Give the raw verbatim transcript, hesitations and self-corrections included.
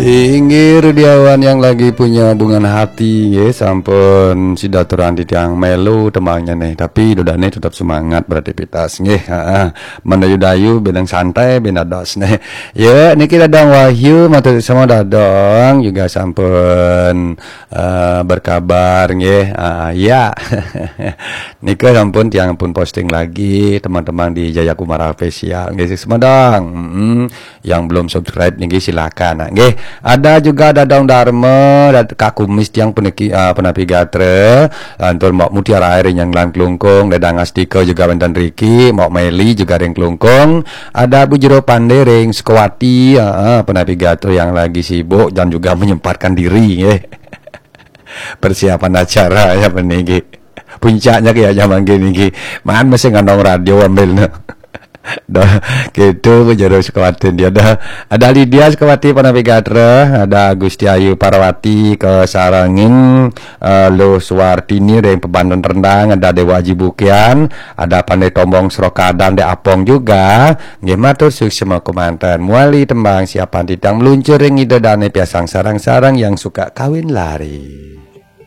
Inggih, Rudiawan yang lagi punya hubungan hati, nggih, sampun sida aturang titiang melu tembangnyané, tapi dodane tetep semangat beraktivitas, nggih. Heeh. Mendayu-dayu benang santai, ben dados, nggih. Ya, niki Dadang Wahyu, matur suksma Dadang juga sampun eh, berkabar, nggih. Ah, ya. Nika sampun tiang pun posting lagi, teman-teman di Jayakumara Official, nggih, suksma Dadang. Mm-mm. Yang belum subscribe niki silakan. Nah, nggih, ada juga Dadang Dharma, Dad-, Kak Kumis tiang puniki, ah, punapi gatra, lantur Mbok Mutiara ring Nyanglan Klungkung, Dadang Astika juga wenten riki, Mbok Meli juga ring Klungkung, ada Bu Jero Pande ring Sukawati, heeh, punapi gatra yang lagi sibuk dan juga menyempatkan diri, nggih. Persiapan acara ya puniki. Puncaknya kayak zaman gini, nggih. Man mesti ngandung radio ambilnya. Dah, gitu, Bu Jero Sukawati dia dah. Ada Lydia Sukawati punapi gatra, ada Gusti Ayu Parwati kasarengin, eh, Luh Suwartini ring Pebanten Rendang, ada Dewa Aji Bukian, ada Pandai Tombong Srokadan, Dek Apong juga. Nggih, matur suksma kemanten. Muali tembang siapan titiang meluncur ring Ida Dane Piasang Sarang-sarang yang suka kawin lari.